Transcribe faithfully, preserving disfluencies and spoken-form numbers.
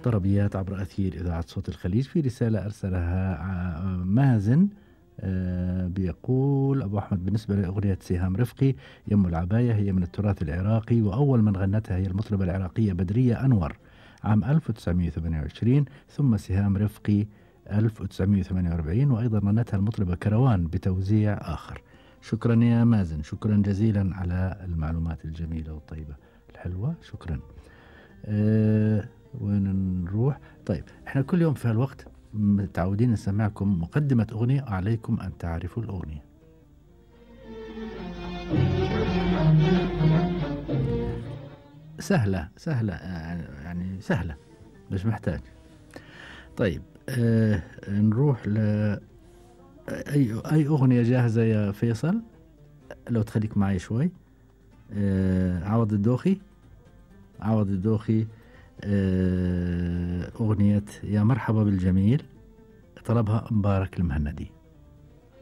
طربيات عبر أثير إذاعة صوت الخليج. في رسالة أرسلها ع- مازن، آه بيقول أبو أحمد: بالنسبة لأغنية سهام رفقي يم العباية، هي من التراث العراقي، وأول من غنتها هي المطربة العراقية بدرية أنور عام ألف وتسعمائة وثمانية وعشرين، ثم سهام رفقي ألف وتسعمائة وثمانية وأربعين، وأيضا غنتها المطربة كروان بتوزيع آخر. شكرا يا مازن، شكرا جزيلا على المعلومات الجميلة والطيبة الحلوة، شكرا. أه وين نروح؟ طيب احنا كل يوم في هالوقت متعودين نسمعكم مقدمة أغنية، عليكم أن تعرفوا الأغنية. سهلة سهلة يعني سهلة، مش محتاج. طيب أه نروح ل أي أي أغنية جاهزة يا فيصل؟ لو تخليك معي شوي. أه عوض الدوخي، عوض الدوخي، أه أغنية يا مرحبا بالجميل، طلبها مبارك المهندي.